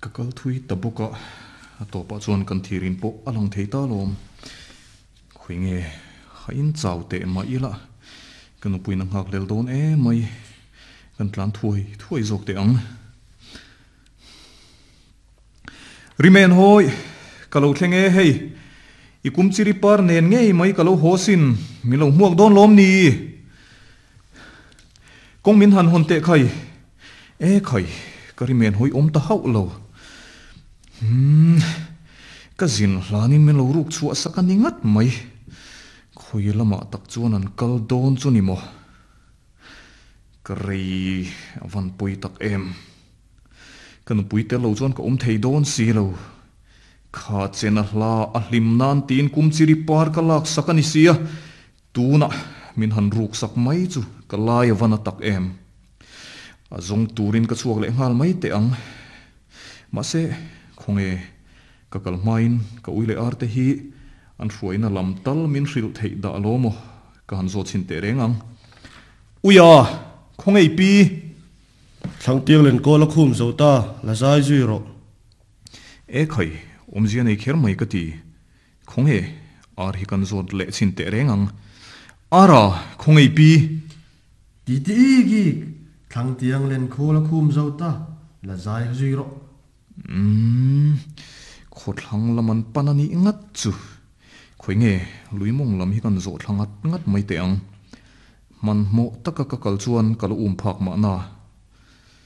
Ka kal thui ta bawk a, a tawpah chuan kan thirin pawh a lang thei ta lawm. Khawi nge a in chau teh mah ila, ka nupuiin a nghak lel dawn emai, kan tlan thuai thuai zawk teh ang. Rimen hawi, ka lo thleng e hei, i kum chiri par nen ngei mai ka lo haw sin, min lo hmuak dawn lawm ni? Kawng min han hawn teh khai, e khai, ka rimen hawi awm ta hauh lo. Umm, ka zin hlanin min lo ruk chhuah sak a ni ngat mai, khawi lamah tak chuan an kal dawn chu ni maw? Ka rei a van pawi tak em. Ka nupui tel lo chuan ka awm thei dawn si lo. Kha chena hla a hlim nan tiin kum chiri par ka lak sak a ni sia, tunah min han ruk sak mai chu ka lai a va na tak em. A zawng turin ka chhuak leh nghal mai teh ang. Mahse, khawnge ka kal hmain ka ui leh ar te hi an hruaina lam tal min hrilh theih dah lo maw ka han zawt chhin teh reng ang. Uia! Khawnge i pi? Thlangtiang len kawl a khum zo ta, la zai zui rawh. E khai, awmzia nei kher mai ka ti. Khawnge, ar hi kan zawt leh chhin teh reng ang. Ara, khawnge i pi? Ti ti ik ik, Thlangtiang len khawl a khum zo ta, la zai zui rawh. Umm, khawthlang lam an pan a nih ngat chu. Khawi nge, lui mawng lam hi kan zawh thla ngat ngat mai teh ang. Hmanhmawh taka ka kal chuan ka la um phak mahna.